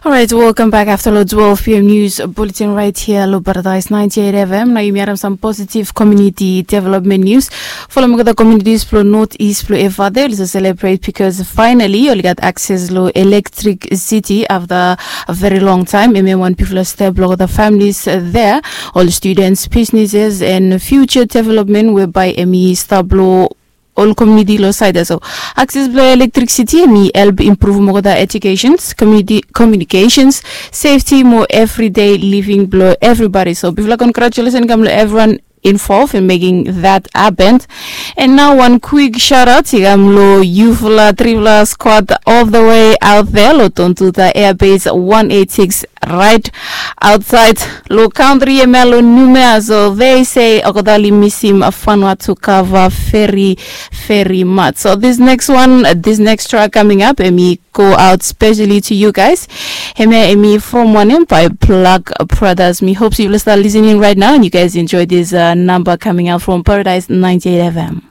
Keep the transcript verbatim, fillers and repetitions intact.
Alright, welcome back after lo twelve p.m. news bulletin right here lo Paradise ninety-eight F M. Nao yumi harim sam positive community development news. Folom olgeta communities blo North East blo Efate oli save celebrate because finally oli gat access lo electricity after a very long time. Hemia wan bigfala step lo olgeta families there. Ol students, businesses and future development whereby hemi stap lo ol community lo side ya. So access blo electricity hemi help improve olgeta educations, community communications, safety mo everyday living blo everybody. So bigfala congratulations kam lo everyone involved in making that happen. And now one quick shout out i kam lo yufala trifala squad all the way out there lo Tontuta Air Base one eight six, right outside lo country hemia lo Noumea. So they say olgeta oli misim Vanuatu kava very very much. So this next one, this next track coming up, hemi go out specially to you guys. Hemia hemi from wanem by Black Brothers. Mi hope yufala start listening right now and you guys enjoy this uh, number coming out from Paradise ninety-eight F M.